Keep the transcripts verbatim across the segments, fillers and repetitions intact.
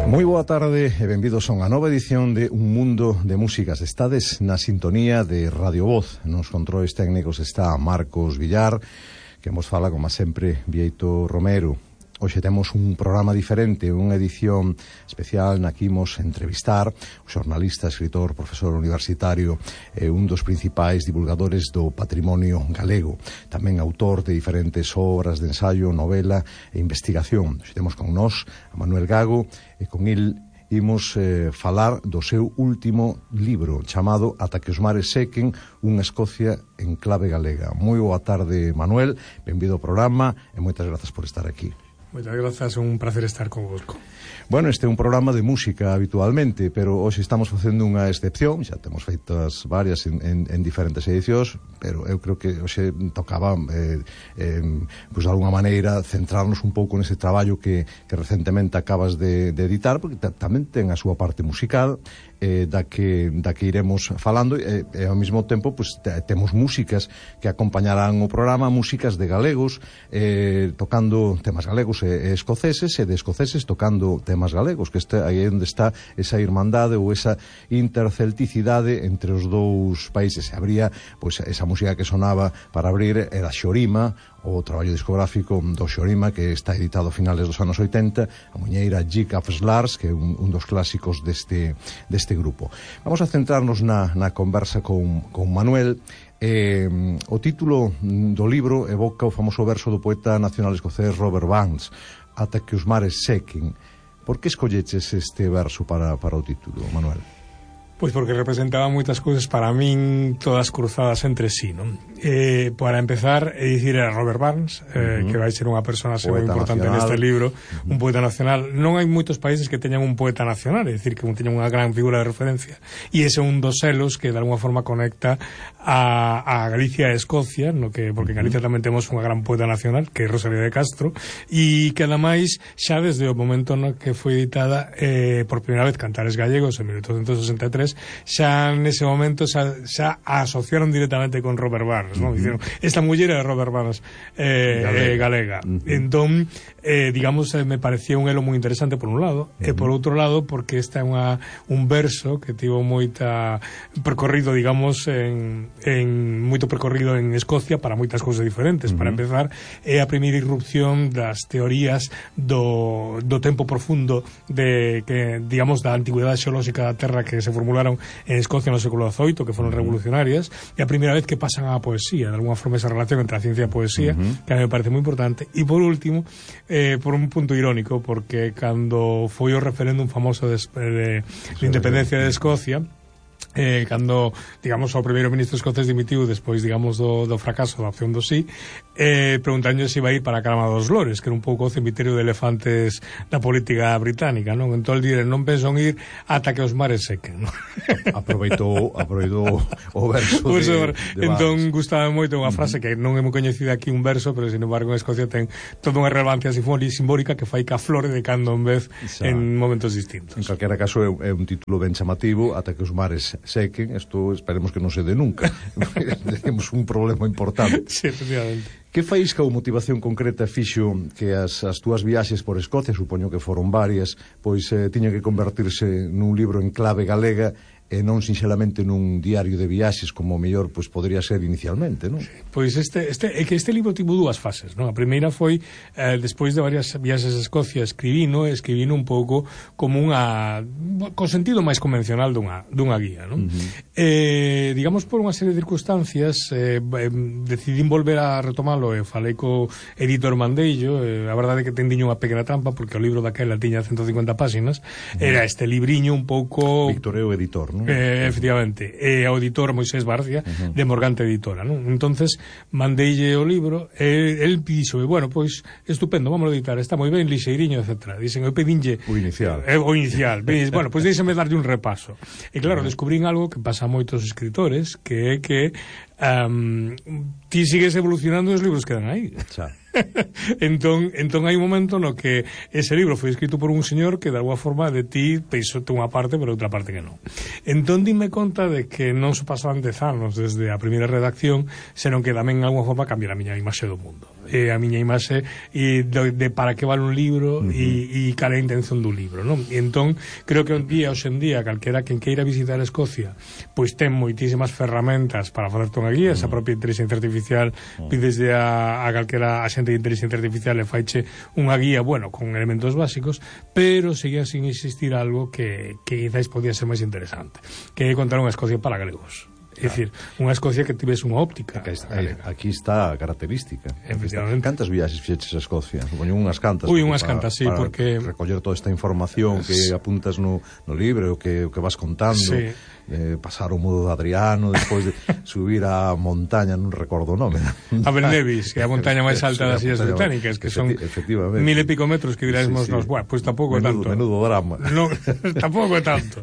Moi boa tarde e benvidos a unha nova edición de Un Mundo de Músicas. Estades na sintonía de Radio Voz. Nos controles técnicos está Marcos Villar, que nos fala, como sempre, Vieito Romero. Hoxe temos un programa diferente, unha edición especial na que imos entrevistar o xornalista, escritor, profesor universitario e un dos principais divulgadores do patrimonio galego, tamén autor de diferentes obras de ensaio, novela e investigación. Hoxe temos con nós a Manuel Gago e con il imos eh, falar do seu último libro chamado Ata que os mares sequen, unha Escocia en clave galega. Moi boa tarde, Manuel, benvido ao programa e moitas grazas por estar aquí. Moitas grazas, un placer estar convosco. Bueno, este é un programa de música habitualmente, pero hoxe estamos facendo unha excepción, xa temos feitas varias en, en, en diferentes edicións, pero eu creo que hoxe tocaba eh, eh, pues de alguna maneira centrarnos un pouco nese traballo que, que recentemente acabas de, de editar, porque tamén ten a súa parte musical, eh, da, que, da que iremos falando, e, e ao mesmo tempo pues, te, temos músicas que acompañarán o programa, músicas de galegos eh, tocando temas galegos e, e escoceses, e de escoceses tocando temas galegos, que este, aí é onde está esa irmandade ou esa intercelticidade entre os dous países. Se habría, pois, esa música que sonaba para abrir era Xorima, o traballo discográfico do Xorima, que está editado a finales dos anos oitenta, a muñeira Jig of Slars, que é un, un dos clásicos deste, deste grupo. Vamos a centrarnos na, na conversa con, con Manuel. Eh, o título do libro evoca o famoso verso do poeta nacional escocés Robert Burns, Ata que os mares sequen. Por que escolleches este verso para, para o título, Manuel? Pois porque representaba moitas cousas para min, todas cruzadas entre sí, non? Eh, para empezar, é dicir, era Robert Burns, eh, uh -huh. que vai ser unha persona moi importante nacional neste libro, uh -huh. un poeta nacional. Non hai moitos países que teñan un poeta nacional, é dicir, que teñan unha gran figura de referencia, e ese é un dos selos que de alguna forma conecta a, a Galicia e Escocia, no que, porque en Galicia tamén temos unha gran poeta nacional, que é Rosalía de Castro, e que ademais, xa desde o momento no que foi editada eh, por primeira vez Cantares Gallegos en mil oitocentos sesenta e tres, xa nese momento xa, xa asociaron directamente con Robert Burns, ¿no? Uh -huh. Dicieron, esta muller é Robert Burns eh, galega, eh, galega. Uh -huh. Entón, eh, digamos, eh, me parecía un elo moi interesante por un lado, uh -huh. e por outro lado porque esta é unha, un verso que tivo moita percorrido, digamos, en, en moito percorrido en Escocia para moitas cousas diferentes. Uh -huh. Para empezar, é a primeira irrupción das teorías do, do tempo profundo de, que, digamos, da antigüedade xeolóxica da Terra que se formularon en Escocia no século dezoito, que foron revolucionarias, e a primeira vez que pasan á poesía, de alguna forma esa relación entre a ciencia e a poesía, uh -huh. que a mí me parece moi importante. E por último, eh, por un punto irónico, porque cando foi o referéndum famoso de, de, de independencia de Escocia, Eh, cando, digamos, o primeiro ministro escocés dimitiu despois, digamos, do, do fracaso da opción do sí, eh, preguntanlle se iba a ir para a Cama dos Lores, que era un pouco o cemiterio de elefantes da política británica, non? Entón, dire, non penso en ir ata que os mares sequen, non? Aproveitou, aproveitou o verso pues, de, de entón, gustaba moito unha frase que non é moi coñecida aquí, un verso, pero, sin embargo, en Escocia ten toda unha relevancia simbólica que fai que a flore de cando en vez Xa. en momentos distintos. En calquera caso, é, é un título ben chamativo, Ata que os mares sequen. Isto esperemos que non se dé nunca. Temos un problema importante. Sí, efectivamente. Que faísca ou motivación concreta fixo que as, as túas viaxes por Escocia, supoño que foron varias, pois eh, tiña que convertirse nun libro en clave galega e non sinxelamente nun diario de viaxes como mellor pois podría ser inicialmente, non? Sí, pois este este é que este libro tivo dúas fases, non? A primeira foi eh, despois de varias viaxes a Escocia, escribino, escribino un pouco como unha con sentido máis convencional dunha dunha guía, non? Uh -huh. Eh, digamos por unha serie de circunstancias eh, eh, decidín volver a retomalo e falei co editor Mandello, eh, a verdade é que tendiño unha pequena trampa porque o libro daquela tiña ciento cincuenta páxinas, uh -huh. era este libriño un pouco Víctor é o editor, ¿no? Eh, efectivamente, e ao editor Moisés Barcia, uh -huh. de Morgante Editora, non? Entonces mandeille o libro e el dixo, bueno, pois estupendo, vamos a editar, está moi ben, lixeiriño, etcétera. Dicen, eu pedinlle o inicial. Eh, o inicial. Bueno, pois deixame darlle un repaso. E claro, uh -huh. descubrín algo que pasa a moitos escritores, que é que um, ti sigues evolucionando e os libros quedan aí. Xa. entón, entón hai un momento no que ese libro foi escrito por un señor que de alguna forma de ti peisote unha parte pero outra parte que non. Entón dime conta de que non se pasaban dez anos desde a primeira redacción, senón que tamén en alguna forma cambiar a miña imaxe do mundo. eh, a miña imaxe e de, de para que vale un libro uh -huh. e, e cal é a intención dun libro, non? E entón, creo que un día, hoxe en día, calquera quen queira visitar Escocia, pois ten moitísimas ferramentas para facerte unha guía, uh -huh. esa propia inteligencia artificial, uh -huh. pidesde a, a calquera a xente de inteligencia artificial e faiche unha guía, bueno, con elementos básicos, pero seguía sin existir algo que, que quizás podía ser máis interesante, que é contar unha Escocia para galegos. É dicir, unha Escocia que tivese unha óptica. Aquí está, aquí está a característica. Efectivamente. Cantas viaxes fixeches a Escocia? Supoño unhas cantas. Ui, unhas para, cantas, sí, para porque recoller toda esta información que apuntas no, no libro, o que, que vas contando. Sí. Eh, pasar o mudo de Adriano, despois de subir a montaña, non recordo o nome. A Belnevis, que é a montaña máis alta das Illas Británicas, que son mil e pico metros que dirásemos sí, sí. nos, bueno, pois pues tampouco é tanto. Menudo drama. No, tampouco é tanto.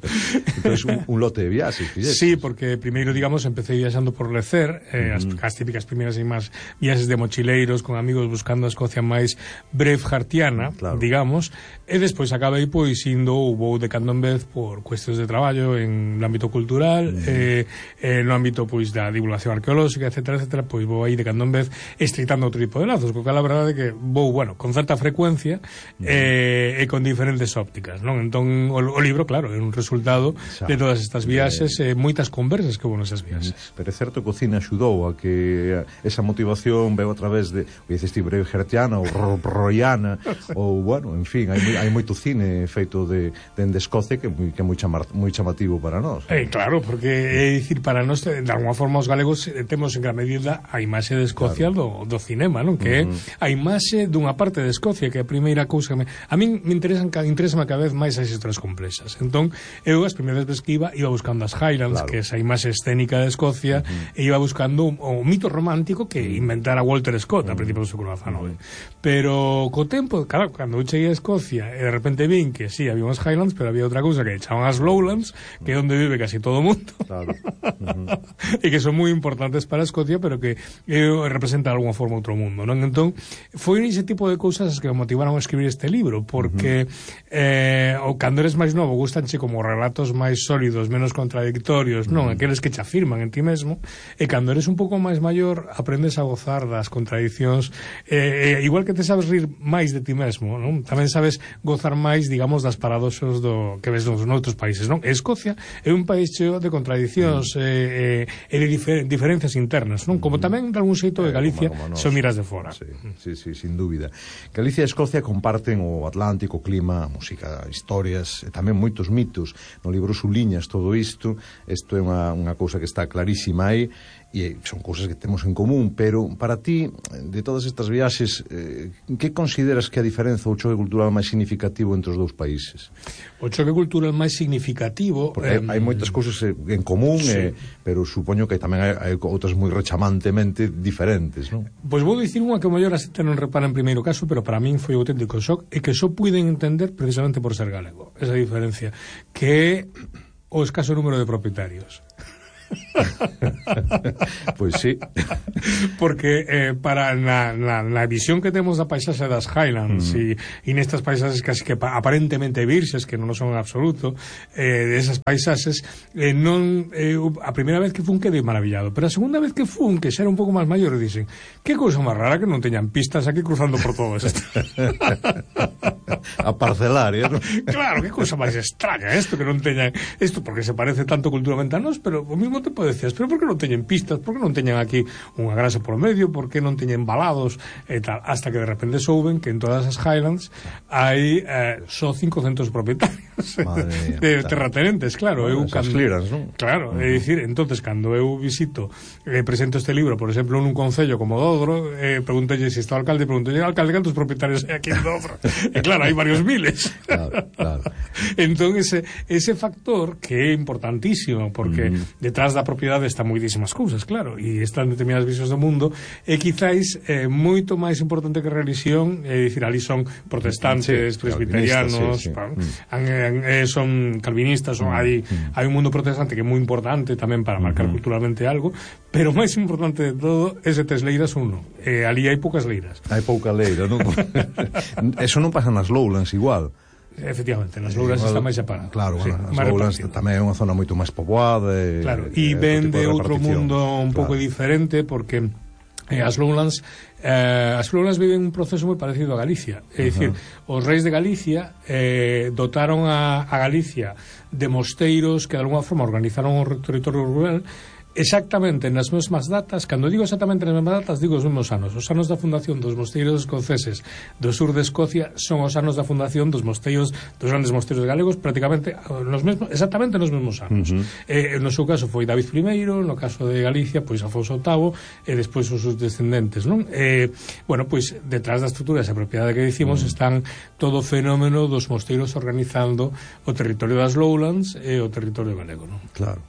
Entón, un, un lote de viaxes, fixeches. Sí, porque primeiro, digamos, empecé viaxando por Lecer, eh, uh -huh. as, as típicas primeiras e máis viaxes de mochileiros con amigos buscando a Escocia máis braveheartiana, claro. digamos, e despois acabei pois indo ou vou de cando en vez por cuestións de traballo en ámbito cultural, mm. eh, eh, no ámbito pois da divulgación arqueolóxica, etcétera, etcétera, pois vou aí de cando en vez estreitando outro tipo de lazos, porque a verdade é que vou, bueno, con certa frecuencia mm. eh, e con diferentes ópticas, non? Entón, o, o libro, claro, é un resultado xa, de todas estas viaxes e eh, moitas conversas que houve nesas viaxes. Pero é certo que o cine axudou a que esa motivación veo a través de, o dices ti, braveheartiana ou roiana, ou, bueno, en fin, hai, hai moito cine feito de, de Escocia que, que é moi, chamar, moi chamativo para nós. Eh, claro, porque é dicir, para nós de alguma forma os galegos temos en gran medida a imaxe de Escocia claro. do, do cinema, non? Que é uh -huh. a imaxe dunha parte de Escocia, que é a primeira cousa que me... a min me interesan interesa cada vez máis as historias complexas. Entón, eu as primeiras veces que iba iba buscando as Highlands, claro. que é esa imaxe escénica de Escocia, uh -huh. e iba buscando o, o mito romántico que inventara Walter Scott uh -huh. a principios do século dezanoveno. Uh -huh. Pero co tempo, claro, cando eu cheguei a Escocia e de repente vin que sí, había unhas Highlands, pero había outra cousa que echaban as Lowlands, que é onde vive casi todo o mundo. Claro. Uh -huh. E que son moi importantes para Escocia, pero que eh, representa de alguna forma outro mundo, non? Entón, foi ese tipo de cousas que me motivaron a escribir este libro, porque uh -huh. eh, o cando eres máis novo gustanche como relatos máis sólidos, menos contradictorios, non? Uh -huh. Aqueles que te afirman en ti mesmo, e cando eres un pouco máis maior aprendes a gozar das contradiccións, eh, eh, igual que te sabes rir máis de ti mesmo, non? Tamén sabes gozar máis, digamos, das paradoxos do que ves nos noutros países, non? Escocia é un país cheo de contradiccións e eh, eh, de difer diferencias internas, non? Como tamén de algún xeito de Galicia eh, se o miras de fora. Sí, sí, sí, sin dúbida. Galicia e Escocia comparten o Atlántico, o clima, a música, historias e tamén moitos mitos. No libro suliñas todo isto. Isto é unha, unha cousa que está clarísima aí e son cousas que temos en común, pero para ti, de todas estas viaxes, eh, que consideras que a diferenza ou choque cultural máis significativo entre os dous países? O choque cultural máis significativo... Porque eh, hai, hai moitas cousas en común, sí. eh, pero supoño que tamén hai, hai outras moi rechamantemente diferentes, non? Pois vou dicir unha que o mellor a xente non repara en primeiro caso, pero para min foi auténtico shock, e que só puiden entender precisamente por ser galego, esa diferencia, que é o escaso número de propietarios. Pois sí. Porque eh, para na, na, na visión que temos da paisaxe das Highlands e mm. nestas paisaxes casi que aparentemente virxes, que non son en absoluto, eh, desas paisaxes, eh, non eh, a primeira vez que fun quedei maravillado, pero a segunda vez que fun, que xa era un pouco máis maior, dicen, que cousa máis rara que non teñan pistas aquí cruzando por todo isto. A parcelaria, ¿no? Claro, que cousa máis extraña isto, que non teñan isto, porque se parece tanto culturalmente a nós, pero ao mesmo tempo decías, pero por que non teñen pistas, por que non teñen aquí unha grasa por medio, por que non teñen balados e tal, hasta que de repente souben que en todas as Highlands hai eh, só cincocentos propietarios de terratenentes, claro. Bueno, eu cando, clearance, ¿no? Claro, uh -huh. é dicir, entonces cando eu visito eh, presento este libro, por exemplo, nun concello como Dodro, eh, pregúntalle se está o alcalde, pregúntalle, alcalde, cantos propietarios hai aquí en Dodro? E claro, hai varios miles. Claro, claro. Entón ese, ese factor que é importantísimo, porque uh -huh. detrás da propiedade está moitísimas cousas, claro, e están determinadas visións do mundo, e quizáis é eh, moito máis importante que a religión, é dicir, ali son protestantes, sí, presbiterianos, sí, sí, sí. Pa, mm. eh, son calvinistas, son, mm. hai, mm. hai un mundo protestante que é moi importante tamén para marcar mm. culturalmente algo, pero máis importante de todo é se tes leiras ou non. Eh, ali hai poucas leiras. Hai pouca leira, non? Eso non pasa nas Lowlands igual. Efectivamente, nas Lowlands está máis separado. Claro, sí, bueno, as Lowlands tamén é unha zona moito máis poboada e, claro, e ven de outro mundo un pouco claro. diferente, porque E as Lowlands eh, as Lowlands viven un proceso moi parecido a Galicia, é dicir, uh-huh. os reis de Galicia eh, dotaron a, a Galicia de mosteiros que de alguna forma organizaron o territorio rural exactamente nas mesmas datas. Cando digo exactamente nas mesmas datas, digo os mesmos anos. Os anos da fundación dos mosteiros escoceses do sur de Escocia son os anos da fundación dos mosteiros, dos grandes mosteiros galegos, prácticamente nos mesmos, exactamente nos mesmos anos. Uh-huh. eh, no seu caso foi David primeiro, no caso de Galicia pois Afonso octavo e despois os seus descendentes, non? Eh, bueno, pois detrás da estrutura esa propiedade que dicimos uh-huh. están todo o fenómeno dos mosteiros organizando o territorio das Lowlands e o territorio galego, non? Claro.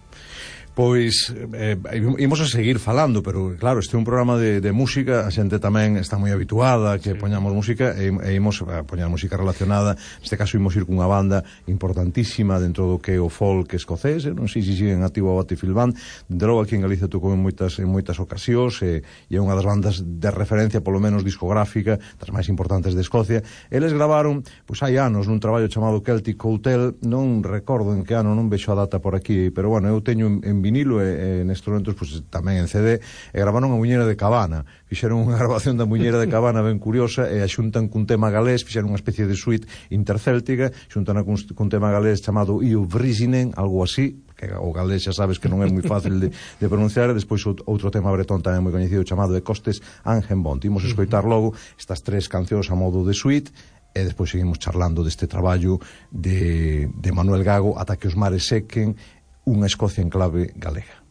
Pois, eh, imos a seguir falando, pero claro, este é un programa de, de música, a xente tamén está moi habituada a que sí. poñamos música e, e imos a poñar música relacionada. Neste caso imos ir cunha banda importantísima dentro do que é o folk escocés, non sei se siguen activo a Battlefield Band, de logo aquí en Galicia tocou en moitas, en moitas ocasións e, e é unha das bandas de referencia, polo menos discográfica, das máis importantes de Escocia. Eles gravaron, pois hai anos, nun traballo chamado Celtic Hotel, non recordo en que ano, non vexo a data por aquí, pero bueno, eu teño en, en vinilo e, e nestes momentos pues, tamén en C D, e gravaron a Muñeira de Cabana, fixeron unha grabación da Muñeira de Cabana ben curiosa e a xuntan cun tema galés, fixeron unha especie de suite intercéltica, xuntan cun, cun tema galés chamado Iu Vrisinen, algo así, que o galés xa sabes que non é moi fácil de, de pronunciar, e despois outro tema bretón tamén moi coñecido chamado de Costes Angenbont. Imos escoitar logo estas tres cancións a modo de suite e despois seguimos charlando deste traballo de, de Manuel Gago, Ata que os mares sequen, unha Escocia en clave galega.